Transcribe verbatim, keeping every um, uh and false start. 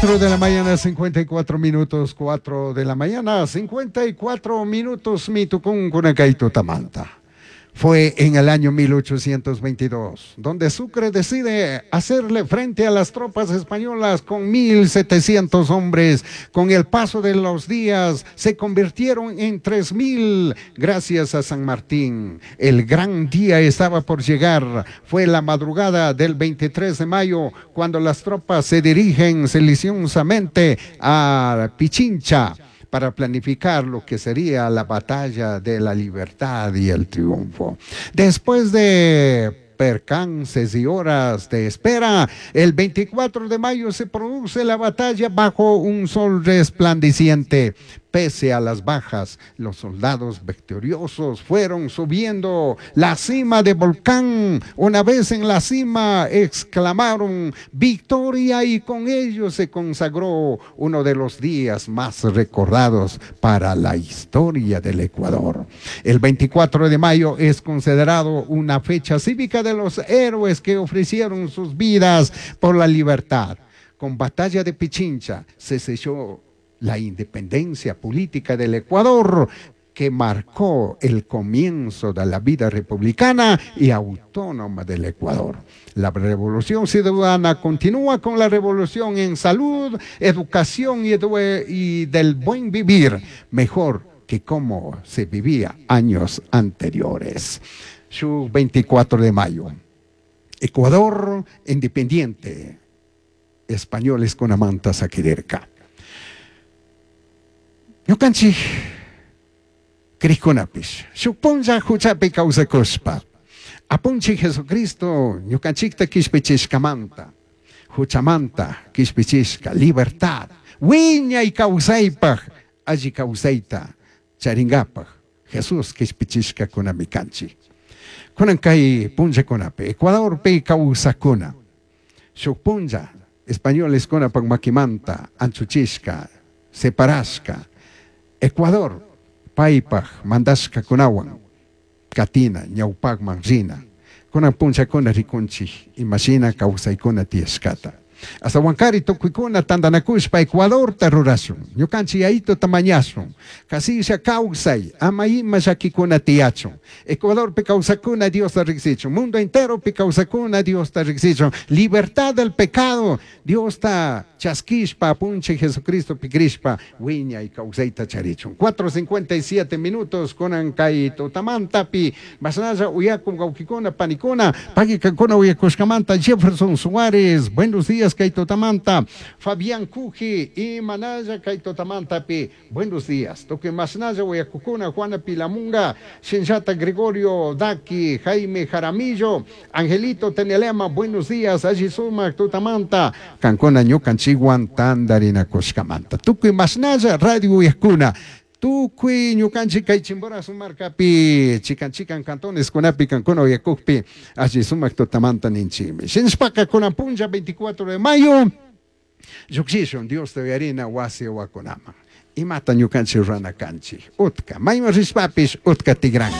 cuatro de la mañana, cincuenta y cuatro minutos, cuatro de la mañana, cincuenta y cuatro minutos, mitucun tamanta. Fue en el año mil ochocientos veintidós, donde Sucre decide hacerle frente a las tropas españolas con mil setecientos hombres. Con el paso de los días se convirtieron en tres mil gracias a San Martín. El gran día estaba por llegar. Fue la madrugada del veintitrés de mayo cuando las tropas se dirigen silenciosamente a Pichincha para planificar lo que sería la batalla de la libertad y el triunfo. Después de percances y horas de espera, el veinticuatro de mayo se produce la batalla bajo un sol resplandeciente. Pese a las bajas, los soldados victoriosos fueron subiendo la cima de volcán. Una vez en la cima, exclamaron "¡Victoria!" y con ello se consagró uno de los días más recordados para la historia del Ecuador. El veinticuatro de mayo es considerado una fecha cívica de los héroes que ofrecieron sus vidas por la libertad. Con batalla de Pichincha se selló la independencia política del Ecuador, que marcó el comienzo de la vida republicana y autónoma del Ecuador. La revolución ciudadana continúa con la revolución en salud, educación y, y del buen vivir, mejor que como se vivía años anteriores. Su veinticuatro de mayo. Ecuador independiente. Españoles kunamanta saquirirca. Ñukanchik crijkunapish shuk punlla huchapi kawsakushpa Apunchik Jesucristo ñukanchikta kishpichishkamanta huchamanta kishpichishka libertad wiñay kawsaypaj alli kawsayta charingapaj Jesús kishpichishkakunami kanchik. Kunan kay punllakunapi Ecuadorpi kawsakuna shuk punlla españoles kunapak makimanta anchuchishka separashka Ecuador paypaj mandashkakunawan katina ñawpakman rina kunan punllakuna rikunchik imashina kawsaykuna tiyashkata Astawankari tukuykuna tantanakushpa Ecuadorta rurashun ñukanchik yayituta mañashun kasilla kawsay ama ima llakikuna tiyachun Ecuadorpi kawsakuna Diosta riksichun mundo enteropi kawsakuna Diosta riksichun libertad del pecado Diosta chaskishpa apunchik Jesucristopi crishpa wiñay kawsayta charichun. cuatro cincuenta y siete minutos kunan kay tutamantapi mashnalla uyakun wawkikuna panikuna pagui kankuna uyakushkamanta. Jefferson Suárez, buenos días kay tutamanta. Fabián Cuji y Manaya kay tutamantapi, buenos días. Tukuy mashnalla uyakukuna Juana Pilamunga, Shinshata Gregorio Daki, Jaime Jaramillo, Angelito Tenelema, buenos días, alli sumak tutamanta kankuna ñukanchikwan tantarinakushkamanta. Tukuy mashnalla radio uyakuna tukuy ñukanchik kay Chimborazo markapi chikan chikan cantones kunapi kankuna uyakukpi alli sumak tutamanta ninchikmi. Shinashpaka kunan punlla veinticuatro de mayo llukshishun Diosta uyarina wasi wakunaman. Imata ñukanchik rurana kanchik utka mayman rishpapish utka tigran.